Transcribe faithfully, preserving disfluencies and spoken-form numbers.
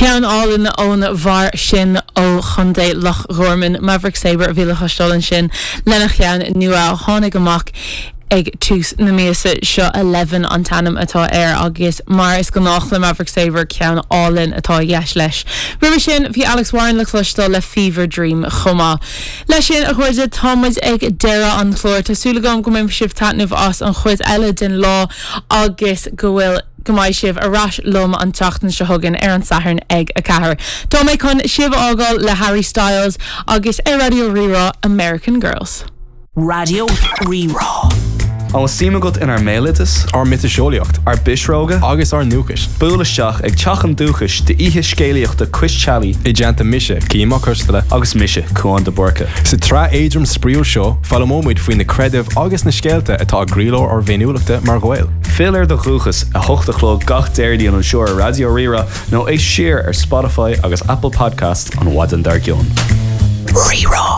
Ceann álainn ón bhfear sin ó Chontae Loch Gorman Maverick Sabre a bhí le cloisteáil ansin lena cheann nua a tháinig amach ag tús na míosa seo Eleven an t-ainm atá air agus mar is gnách le Maverick Sabre ceann álainn atá i gceist leis. Roimhe sin bhí Alex Warren le cloisteáil le Fever Dream chomh maith. Leis sin a chairde táimid ag deireadh an chláir Tá súil agam go mbainfidh sibh taitneamh as an chuid eile den lá agus go bhfuil go mbeidh sibh ar ais liom an tseachtain seo chugainn ar an Satharn ag a ceathair. Tá mé chun sibh a fhágáil le Harry Styles agus ar Raidió Rí-Rá American Girls. Raidió Rí-Rá. An bhfuil suim agat inár mbéaloideas, ár miotaseolaíocht ár bpisreoga, agus ár ndúchais. Buail isteach ag Teach an Dúchais d'oíche scéalaíochta Cois Teallaigh I dteannta mise Cian Mac Coisteala agus mise Cuán de Búrca. Sa tsraith éadrom spraíúil seo foghlaimeoimid faoi na creidimh agus na scéalta atá i gcroílár ár bhféiniúlachta mar Ghaeil. Fill ar do dhúchas a hocht a chlog gach Déardaoin anseo ar Raidió Rí-Rá nó éist siar ar Spotify agus Apple Podcast an mhaidin dár gcionn. Rí-Rá.